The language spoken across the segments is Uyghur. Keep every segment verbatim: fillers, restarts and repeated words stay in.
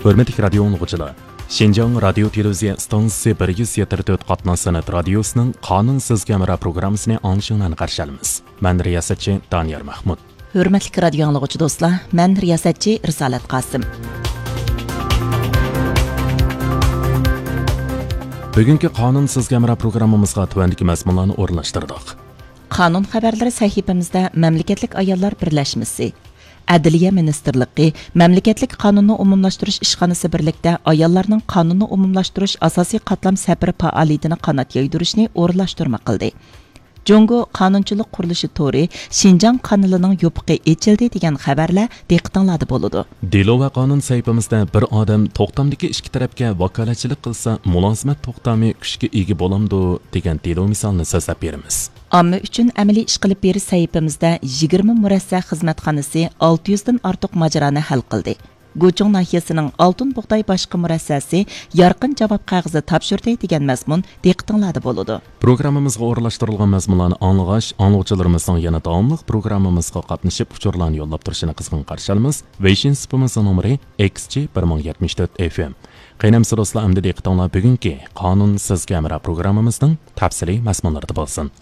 ھۆرمەتلىك رادىيو ئاڭلىغۇچىلار، شىنجاڭ رادىيو تېلېۋىزىيە ئىستانسىسى بىر يۈز يەتتە تۆت قاتناش سەنئەت رادىيوسىنىڭ قانۇن سىزگە ھەمراھ پروگراممىسىنى ئاڭلىشىڭلارنى قارشى ئالىمىز. مەن رىياسەتچى دانىيار مەھمۇت. ھۆرمەتلىك رادىيو ئاڭلىغۇچى دوستلار، مەن رىياسەتچى رىسالەت قاسىم. بۈگۈنكى قانۇن سىزگە ھەمراھ پروگراممىمىزغا تۆۋەندىكى مەزمۇنلارنى ئورۇنلاشتۇردۇق. قانۇن خەۋەرلىرى سەھىپىمىزدە مەملىكەتلىك ئاياللار بىرلەشمىسى، ئەدلىيە مىنىستىرلىقى مەملىكەتلىك قانۇننى ئومۇملاشتۇرۇش ئىشخانىسى بىرلىكتە ئاياللارنىڭ قانۇننى ئومۇملاشتۇرۇش ئاساسىي قاتلام سەپىرى پائالىيىتىنى قانات يايدۇرۇشنى ئورۇنلاشتۇرما قىلدى. جۇڭگو قانۇنچىلىق قۇرۇلۇشى تورى شىنجاڭ قانىلىنىڭ يوپۇقى ئېچىلدى دېگەن خەۋەرلەر دىققىتىڭلاردا بولىدۇ. دېلو ۋە قانۇن سەھىپىمىزدە بىر ئادەم توختامدىكى ئىككى تەرەپكە ۋاكالەتچىلىك قىلسا، مۇلازىمەت توختامى كۈچكە ئىگە بولامدۇ دېگەن دېلو مىسالىنى سۆزلەپ بېرىمىز. ئامما ئۈچۈن ئەمەلىي ئىش قىلىپ بېرىش سەھىپىمىزدە يىگىرمە مۇرەسسە خىزمەتخانىسى ئالتە يۈزدىن ئارتۇق ماجىرانى ھەل قىلدى. گۇچۇڭ ناھىيەسىنىڭ ئالتۇن بۇغداي باشقى مۇرەسسەسى يارقىن جاۋاب قەغىزى تاپشۇردى دېگەن مەزمۇن دىققىتىڭلاردا بولىدۇ. پروگراممىمىزغا ئورۇنلاشتۇرۇلغان مەزمۇنلارنى ئاڭلىغاچ، ئاڭلىغۇچىلىرىمىزنىڭ يەنە داۋاملىق پروگراممىمىزغا قاتنىشىپ، ئۇچۇرلارنى يوللاپ تۇرۇشىنى قىزغىن قارشى ئالىمىز. ۋېيشىن سۇپىمىزنىڭ نومۇرى ئېكس جى بىر مىڭ يەتمىش تۆت ئېف ئېم. قېنى ئەمىسە دوستلار، ئەمدى دىققىتىڭلار بۈگۈنكى قانۇن سىزگە ھەمراھ پروگراممىمىزنىڭ تەپسىلىي مەزمۇنلىرىدا بولسۇن.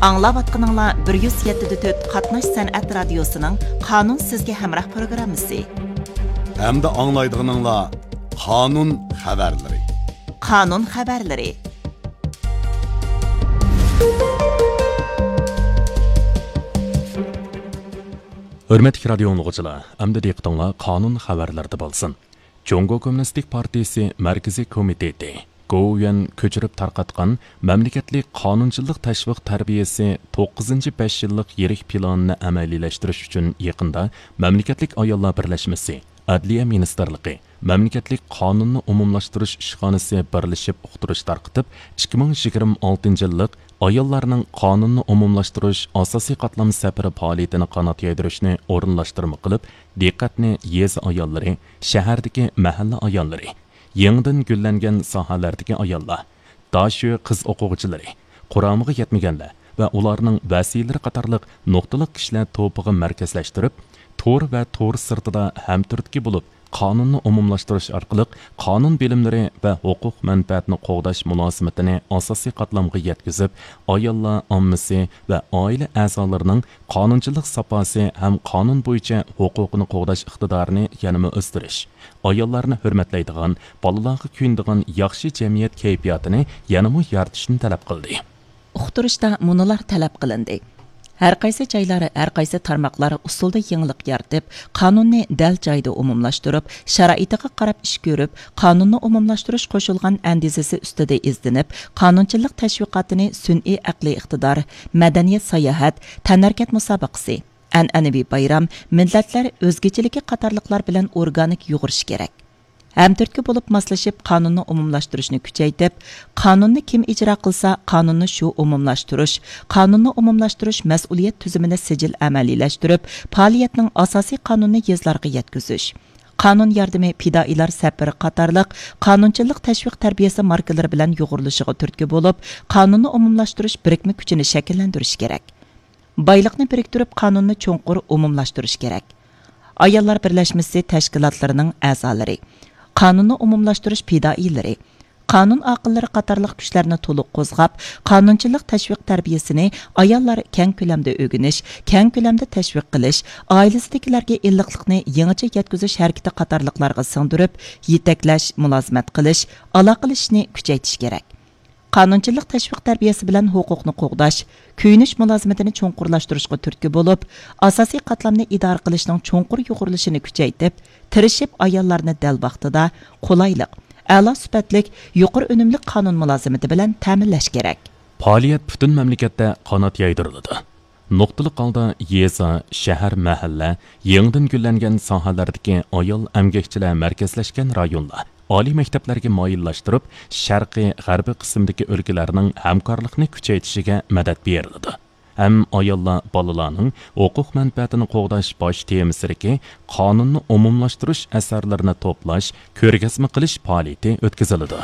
ئاڭلاۋاتقىنىڭلار بىر يۈز يەتتە دە تۆت قاتناش سەنئەت رادىيوسىنىڭ قانۇن سىزگە ھەمراھ پروگراممىسى. ئەمدى ئاڭلايدىغىنىڭلار قانۇن خەۋەرلىرى. قانۇن خەۋەرلىرى. ھۆرمەتلىك رادىيو ئاڭلىغۇچىلار، ئەمدى دىققىتىڭلار قانۇن خەۋەرلىرىدە بولسۇن. جۇڭگو كوممۇنىستىك پارتىيىسى مەركىزىي كومىتېتى، گوۋۇيۈەن كۆچۈرۈپ تارقاتقان مەملىكەتلىك قانۇنچىلىق تەشۋىق تەربىيەسى توققۇزىنچى بەش يىللىق يىرىك پىلانىنى ئەمەلىيلەشتۈرۈش ئۈچۈن يېقىندا مەملىكەتلىك ئاياللار بىرلەشمىسى، ئەدلىيە مىنىستىرلىقى، مەملىكەتلىك قانۇننى ئومۇملاشتۇرۇش ئىشخانىسى بىرلىشىپ ئۇقتۇرۇش تارقىتىپ، ئىككى مىڭ يىگىرمە ئالتىنچى يىللىق ئاياللارنىڭ قانۇننى ئومۇملاشتۇرۇش ئاساسىي قاتلام سەپىرى پائالىيىتىنى قانات يايدۇرۇشنى ئورۇنلاشتۇرما قىلىپ، دىققەتنى يېزا ئاياللىرى، شەھەردىكى مەھەللە ئاياللىرى، يېڭىدىن گۈللەنگەن ساھەلەردىكى ئاياللار، داشۆ قىز ئوقۇغۇچىلىرى، قۇرامىغا يەتمىگەنلەر ۋە ئۇلارنىڭ ۋەسىيلىرى قاتارلىق نۇقتىلىق كىشىلەر توپىغا مەركەزلەشتۈرۈپ، تور ۋە تور سىرتىدا ھەمتۈرتكە بولۇپ، قانۇننى ئومۇملاشتۇرۇش ئارقىلىق قانۇن بىلىملىرى ۋە ھوقۇق مەنپەئەتنى قوغداش مۇلازىمىتىنى ئاساسىي قاتلامغا يەتكۈزۈپ، ئاياللار ئاممىسى ۋە ئائىلە ئەزالىرىنىڭ قانۇنچىلىق ساپاسى ھەم قانۇن بويىچە ھوقۇقىنى قوغداش ئىقتىدارىنى يەنىمۇ ئۆستۈرۈش، ئاياللارنى ھۆرمەتلەيدىغان، بالىلارغا كۆيۈنىدىغان ياخشى جەمئىيەت كەيپىياتىنى يەنىمۇ يارىتىشنى تەلەپ قىلدى. ئۇقتۇرۇشتا مۇنۇلار تەلەپ قىلىندى. ھەر قايسى جايلار، ھەر قايسى تارماقلار ئۇسۇلدا يېڭىلىق يارىتىپ، قانۇننى دەل جايىدا ئومۇملاشتۇرۇپ، شارائىتىغا قاراپ ئىش كۆرۈپ، قانۇننى ئومۇملاشتۇرۇش قوشۇلغان ئەندىزىسى ئۈستىدە ئىزدىنىپ، قانۇنچىلىق تەشۋىقاتىنى سۈنئىي ئەقلىي ئىقتىدار، مەدەنىيەت ساياھەت، تەنھەرىكەت مۇسابىقىسى، ئەنئەنىۋى بايرام، مىللەتلەر ئۆزگىچىلىكى قاتارلىقلار بىلەن ئورگانىك يۇغۇرۇشى كېرەك. ھەمتۈرتكە بولۇپ ماسلىشىپ، قانۇننى ئومۇملاشتۇرۇشنى كۈچەيتىپ، قانۇننى كىم ئىجرا قىلسا، قانۇننى شۇ ئومۇملاشتۇرۇش، قانۇننى ئومۇملاشتۇرۇش مەسئۇلىيەت تۈزۈمىنى سىجىل ئەمەلىيلەشتۈرۈپ، پائالىيەتنىڭ ئاساسىي قانۇنىنى يېزىلارغا يەتكۈزۈش، قانۇن ياردىمى پىدائىيلار سەپىرى قاتارلىق قانۇنچىلىق تەشۋىق تەربىيەسى ماركىلىرى بىلەن يۇغۇرۇلۇشىغا تۈرتكە بولۇپ، قانۇننى ئومۇملاشتۇرۇش بىرىكمە كۈچىنى شەكىللەندۈرۈش كېرەك. بايلىقنى بىرىكتۈرۈپ، قانۇننى چوڭقۇر ئومۇملاشتۇرۇش كېرەك. ئاياللار بىرلەشمىسى تەشكىلاتلىرىنىڭ ئەزالىرى، قانۇننى ئومۇملاشتۇرۇش پىدائىيلىرى، قانۇن ئاقىللىرى قاتارلىق كۈچلەرنى تولۇق قوزغاپ، قانۇنچىلىق تەشۋىق تەربىيەسىنى ئاياللار كەڭ كۆلەمدە ئۆگىنىش، كەڭ كۆلەمدە تەشۋىق قىلىش، ئائىلىسىدىكىلەرگە ئىللىقلىقنى يېڭىچە يەتكۈزۈش ھەرىكىتى قاتارلىقلارغا سىڭدۈرۈپ، يېتەكلەش، مۇلازىمەت قىلىش، ئالاقىلىشىشنى كۈچەيتىش كېرەك. قانۇنچىلىق تەشۋىق تەربىيەسى بىلەن ھوقۇقنى قوغداش، كۆيۈنۈش مۇلازىمىتىنى چوڭقۇرلاشتۇرۇشقا تۈرتكە بولۇپ، ئاساسىي قاتلامنى ئىدارە قىلىشنىڭ چوڭقۇر يۇغۇرۇلۇشىنى كۈچەيتىپ، تىرىشىپ ئاياللارنى دەل ۋاقتىدا، قولايلىق، ئەلا سۈپەتلىك، يۇقىرى ئۈنۈملۈك قانۇن مۇلازىمىتى بىلەن تەمىنلەش كېرەك. پائالىيەت پۈتۈن مەملىكەتتە قانات يايدۇرۇلىدۇ. نۇقتىلىق ھالدا يېزا، شەھەر، مەھەللە، يېڭىدىن گۈللەنگەن ساھەلەردىكى ئايال ئەمگەكچىلەر مەركەزلەشكەن رايونلار، ئالىي مەكتەپلەرگە مايىللاشتۇرۇپ، شەرقىي، غەربىي قىسىمدىكى ئۆلكىلەرنىڭ ھەمكارلىقنى كۈچەيتىشىگە مەدەت بېرىلىدۇ. ھەم ئاياللار، بالىلارنىڭ ھوقۇق مەنپەئەتىنى قوغداش باش تېمىسىدىكى قانۇننى ئومۇملاشتۇرۇش ئەسەرلىرىنى توپلاش، كۆرگەزمە قىلىش پائالىيىتى ئۆتكۈزۈلىدۇ.